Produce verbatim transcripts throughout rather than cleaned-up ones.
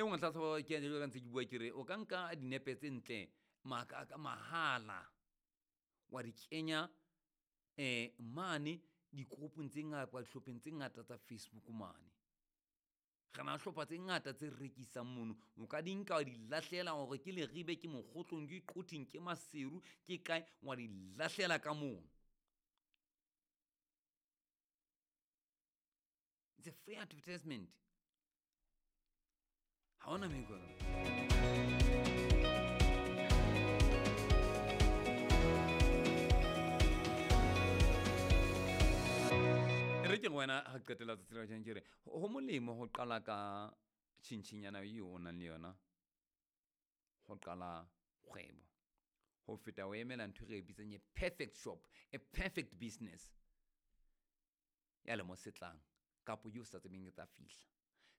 nngwe tlhatlhobo ke jalo ka ntse ke bua ke re o ka nka dinepe tse ntle maka ka mahala wa di kenya um mane dikoropong tse ngata dihlopheng tse ngata tsa Facebook mane. Re na le hlopha tse ngata tse rekisang mono, o ka di nka wa di lahlela hore ke Leribe, ke Mokgotlong, ke Quthing, ke Maseru, ke kae, wa di lahlela ka mono. It's a free advertisement. Ha hona meko. E re ke re wena ha qetela tsatsi la kajeno ke re ho molemo ho qala ka tjhintjhinyana eo o nang le yona ho qala kgwebo ho feta o emela ntho e re e bitsang a perfect shop, a perfect business ya lemo se tlang kapo eo sa tsebeng e tla fihla.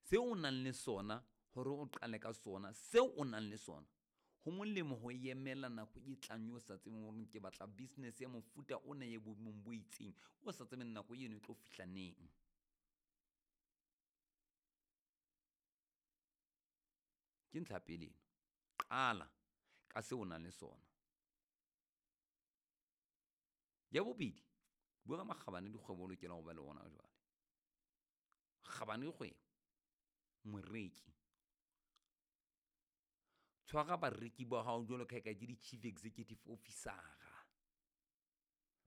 Seo o nang le sona hore o qale ka sona, seo o nang le sona ho molemo ho emela nako e tlang eo sa tsebeng hore ke batla business ya mofuta ona e boemong bo itseng, o sa tsebeng nako eno e tlo fihla neng. Ke ntlha ya pele eno, qala ka seo o nang le sona. Ya bobedi, bua ka makgabane dikgwebo o lokela ho ba le ona jwale. Kgabane dikgwebo, moreki. Tshwara bareki ba hao jwalo ka ha eka ke di-chief executive officer-a.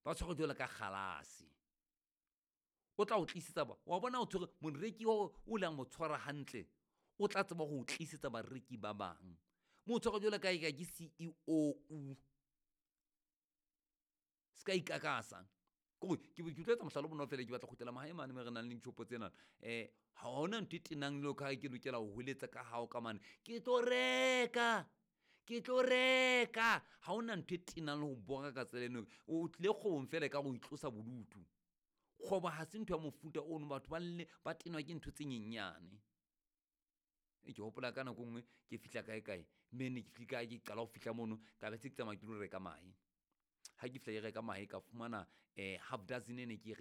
Ba tshware jwalo ka kgalase. O tla o tlisetsa ba, wa bona o tshwere moreki o o lang mo tshwara hantle, o tla tseba ho o tlisetsa bareki ba bang. Mo tshware jwalo ka ha eka ke C E O. Se ka ikakasa. Kore ke ke tlo etsa mohlala o bonolo fela, ke batla ho kgutlela mahae mane moo re nang le dishopo tsena. Um ha hona ntho e tenang jwalo ka ha ke lokela ho hweletsa ka hao ka mane, ke tlo reka, ke tlo reka. Ha hona ntho e tenang le ho bora ka tsela eno. O tlile kgwebong fela ekare o itlosa bodutu. Kgwebo ha se ntho ya mofuta ono, batho ba lle ba tenwa ke ntho tse nyenyane. E ke hopola ka nako e nngwe ke fihla kae kae, mme ne ke fihla ke qala ho fihla mono, ka be se ke tsamaya ke lo reka mahe. Ha ke fihla ke reka mahe ka fumana um half dozen ene ke.